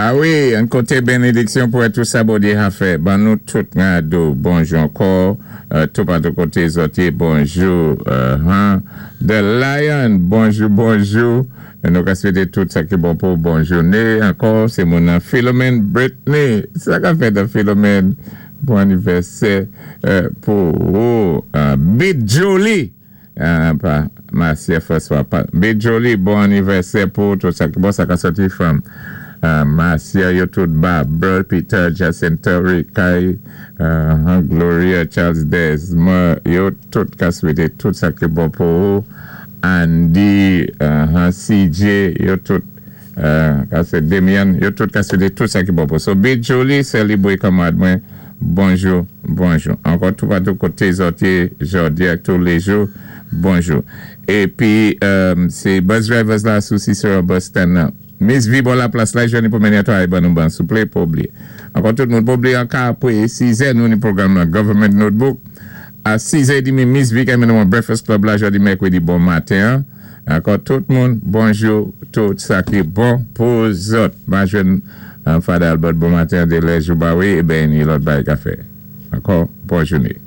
A wi, an koté benediksyon pou tou sa Bondyé a fè. Ban nou tout gado bonjou ankò, tou patou koté zòt yé, bonjou. The Lion, bonjou, bonjou. Nou ka swété tout sa ki bon pou bon jouné. Ankò, sé moun Philomène Brittany. Sa ka fèt Philomène. Bon anivèsè pou ou. Bit Jolie. Pa Marcia François. Bit Jolie, bon anivèsè pou tout sa ki bon. Sa ka sòti from Marcia, yo tout Barbara, Peter, Jacinta, Rikai, Gloria, Charles Desmond, yo tout ka swété tout sa ki bon pou ou. Andy, CJ, yo tout ka sé Demian, yo tout ka swété tout sa ki bon pou ou. So, Bit Jolie, sé li boy kanmwad mwen, bonjou, bonjou. Ankò tou patou koté zòt yé, jòdi ak tou lé jou, bonjou. Épi, sé bus drivers la sou Cicero bus stand nan. Miss V bò la plas la, jwenni pou mennen to ay ban nou ban souplé, pa blié. Ankò tout moun pa blié an ka apwé 6 nou ni pwogram nan Government Notebook. A 6 è dmi, Miss V ka mennen nou Breakfast Club la jòdi mèkwédi bon maten. Ankò tout moun, bonjou, tout sa ki bon pou zòt. Ma jwenn Father Albert bon maten de lè jou ba wi, e ben ni lòt bay kafé. Ankò, bon jouné.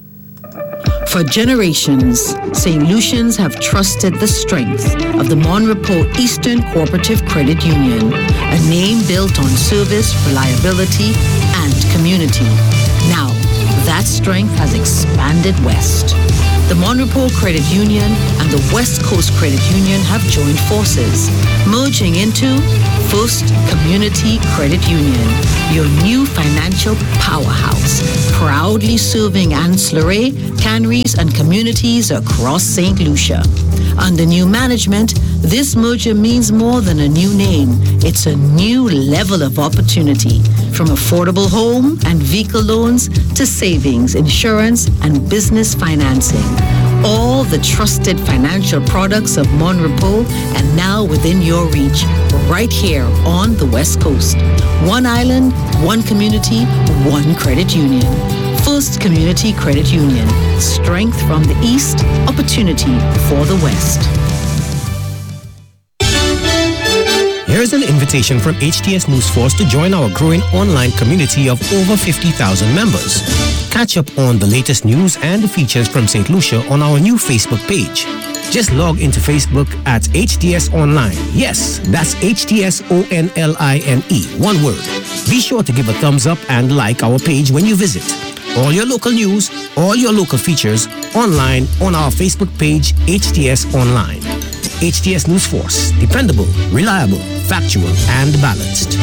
For generations, St. Lucians have trusted the strength of the Mon Repos Eastern Cooperative Credit Union, a name built on service, reliability, and community. Now, that strength has expanded west. The Mon Repos Credit Union and the West Coast Credit Union have joined forces, merging into First Community Credit Union, your new financial powerhouse, proudly serving Anse La Raye, Canaries, and communities across St. Lucia. Under new management, this merger means more than a new name. It's a new level of opportunity. From affordable home and vehicle loans to savings, insurance, and business financing. All the trusted financial products of Mon Repos and now within your reach, right here on the West Coast. One island, one community, one credit union. First Community Credit Union. Strength from the East, opportunity for the West. Here's an invitation from HTS News Force to join our growing online community of over 50,000 members. Catch up on the latest news and features from St. Lucia on our new Facebook page. Just log into Facebook at HTS Online. Yes, that's HTS O N L I N E. One word. Be sure to give a thumbs up and like our page when you visit. All your local news, all your local features online on our Facebook page, HTS Online. HTS News Force. Dependable, reliable, factual, and balanced.